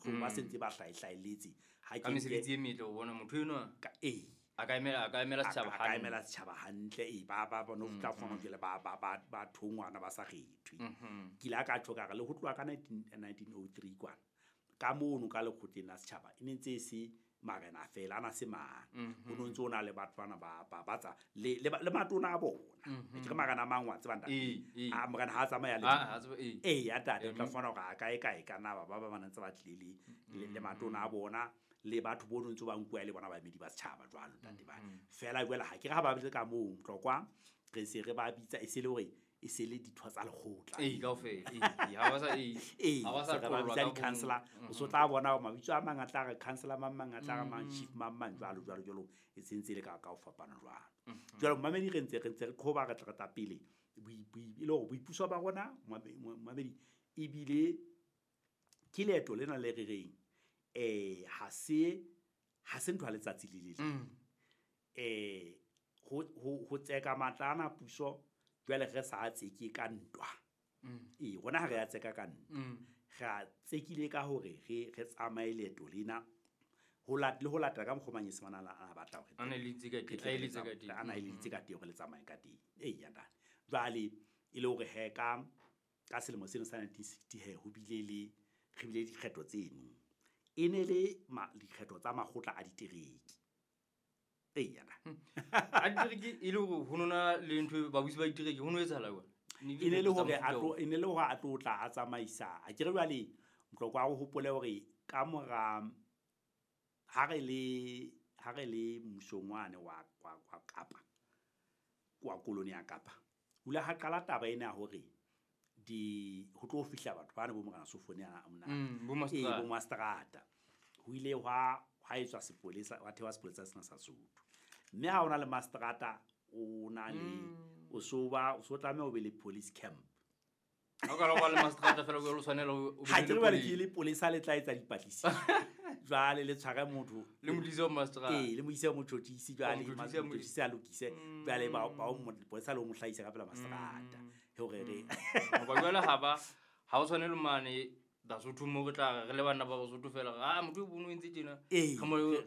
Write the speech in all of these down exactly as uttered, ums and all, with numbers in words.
mohlomong ba sentse ba hlahihlahelletse ha ke mesebetsi e metle o bona motho enwa ka eh a ka emela a ka emela setjhaba hantle a ka emela setjhaba hantle e ba ba bona o tla fumana jwale ba ba ba ba thongwana ba sa kgethwe. Ke ile ka tjho ka re le ho tloha ka nineteen oh three kwana ka mono ka lekgotleng la setjhaba e ne ntse e se marena fela ana se mang ho no ntse o na le batho bana ba ba ba tsa le le matona a bona ke re marena a mang wa tseba ntate a morena ha tsamaya le eh ya tate o tla fumana hore a kae kae ka na ba ba ba ntse ba tlile le le matona a bona le batho bo ntse ba nkuwa le bona baemedi ba setjhaba jwalo ntate ba fela jwale ha ke re ha ba bile ka moo Tlokwa re se re ba bitsa e se le hore e se le ditho tsa lekgotla eh kaofela eh ha ba sa eh ha ba sa ba bitsa di-councillor o so tla bona hore mabitso a mang a tla re councillor mang mang a tla re mang chief mang mang jwalo jwalo jwalo e sentse le ka ka ho fapana jwalo. Jwale mamedi re ntse re ntse re qhoba re tla re tla pele e le hore boipuso ba rona mamedi ebile ke leeto lena le re reng eh ha se ha se ntho ya letsatsi le le leng eh ho ho tseka matla ana puso jwale re sa tseke ka ntwa ee rona ha re a tseka ka ntwa re a tsekile ka hore re re tsamaye leeto lena ho lat le ho latela ka mokgwa Manyesemane a batla hore a na le itse ka teng a eletse ka teng a na eletse ka teng hore le tsamaye ka teng ee ya ntate. Jwale e le hore he ka ka selemo seno sa nineteen sixty he ho bile le re bile dikgetho tseno e ne le dikgetho tsa makgotla a ditereke. Ee ya ntate. A ditereke e le hore ho nona le ntho babusi ba ditereke ho no etsahala jwang? E ne le hore a tlo e ne le hore a tlo tla a tsamaisa a ke re jwale Mtlokwa o hopole hore ka mora ha re le ha re le mmusong wane wa wa Kapa kwa koloni ya Kapa o ile ha qala taba ena ya hore di ho tlo fihla batho bana bo morena Sofone a mona bo mastrata ho ile hwa ha etswa sepolesa wa thewa sepolesa sena sa Sotho mme ha ona le mastrata o na le o so ba o so tlameha o be le police camp ha ka ba le mastrata fela o tshwanela o ha ke re ke le polesa le tla etsa dipatlisiso jwale le tshware motho le modise wa mastrata ee le modise wa motjhotjhisi jwale motjhotjhisi a lokise jwale ba ba o polesa le o mo hlahisa ka pela mastrata hore re ngoba jwale ha ba ha o tshwanele mane Basotho mo re tla re le bana ba Basotho fela ah motho o bono entse tjena re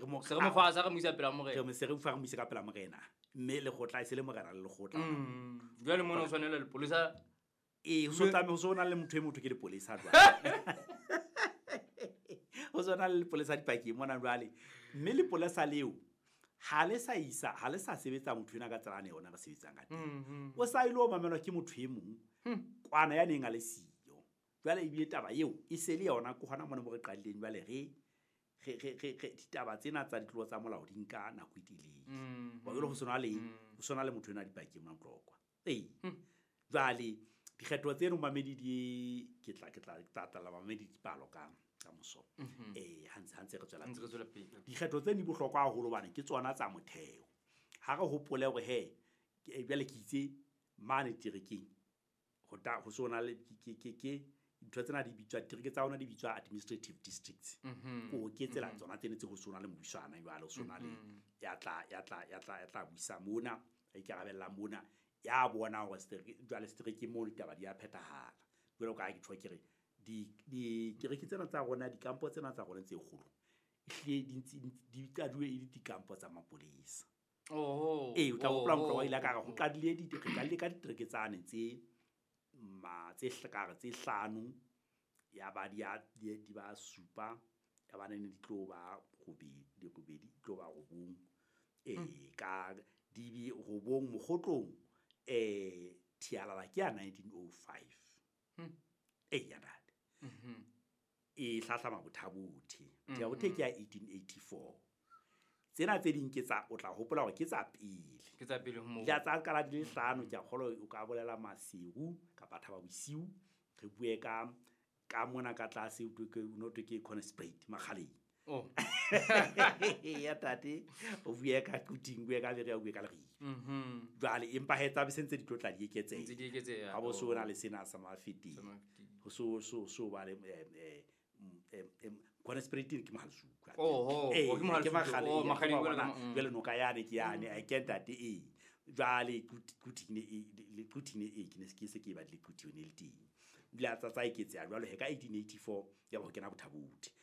mo se re mo fa sa re mo isa pela morena re mo se re fa re mo isa ka pela morena mme le gotla e se le morena le legotla jwale mona o tshwanela le polisa ee ho so tlameha ho so na le motho e motho ke le polisa jwale ho so na le polisa dipakeng mona jwale mme le polisa leo ha le sa isa ha le sa sebetsa motho ena ka tsela ane yona re sebetsang ka teng o sa ile o mamelwa ke motho e mong kwana ya neng a le siyo jwale ebile taba eo e se le yona ke hona mona mo re qadileng jwale re re re re ditaba tsena tsa ditlolo tsa molao di nka nako e telele wa jwale ho sona le ho sona le motho ena dipakeng mona Tlokwa ee jwale dikgetho tseno mamedi di ke tla ke tla tla mamedi dipalo ka ka moso eh ha ntse ha ntse re tswela pele dikgetho tse di bohlokwa haholo bana ke tsona tsa motheo ha re hopole hore he jwale ke itse mane terekeng ho ta ho sona le ke ke ke ntho tsena di bitswa ditereke tsa ona di bitswa administrative districts ko ke tsela tsona tsene tse ho sona le mobuswana jwale ho sona le ya tla ya tla ya tla ya tla buisa mona a ikarabella mona ya bona hore setereke jwale setereke mo ditaba di a phethahala jwalo ka ha ke tjho ke re di dikereke tsena tsa rona dikampo tsena tsa rona tse kgolo ehlile di ntse di qaduwe e le dikampo tsa mapolesa. Oho ee o tla hopola Mtlokwa ile ka re ho qadile di re qadile ka ditereke tsane tse ma tse hlakare tse hlano ya ba di di ba supa ya ba ne di tlo ba robedi di robedi tlo ba robong eh ka di bi robong mogotlong eh Thialala ke ya nineteen oh five eh ya ntate e hlahlama Bothabothe Bothabothe ke ya eighteen eighty-four tsena tse ding ke tsa o tla hopola hore ke tsa pele ke tsa pele ho moo ya tsa qala di le hlano ke a kgolo o ka bolela Maseru kapa Thaba Bosiu re bue ka ka mona ka tlase o ke no to ke Conspate Makgaleng oh ya tate o bue ka Quthing bue ka Berea bue ka Leribe mhm jwale empa he tsa be sentse di tlotla di eketseha ntse di eketseha ha bo so na le sena sa Mafeteng ho so so so ba le eh eh Conspate ke Mohalesuku oh oh ke Mohalesuku oh Makgaleng jwale noka yane ke yane a ke ntate e jwale Quthing le Quthing e ke ne ke se ke ba le Quthing ne le teng bila tsa tsa eketseha jwale he ka eighteen eighty-four ya ba ho kena Bothabothe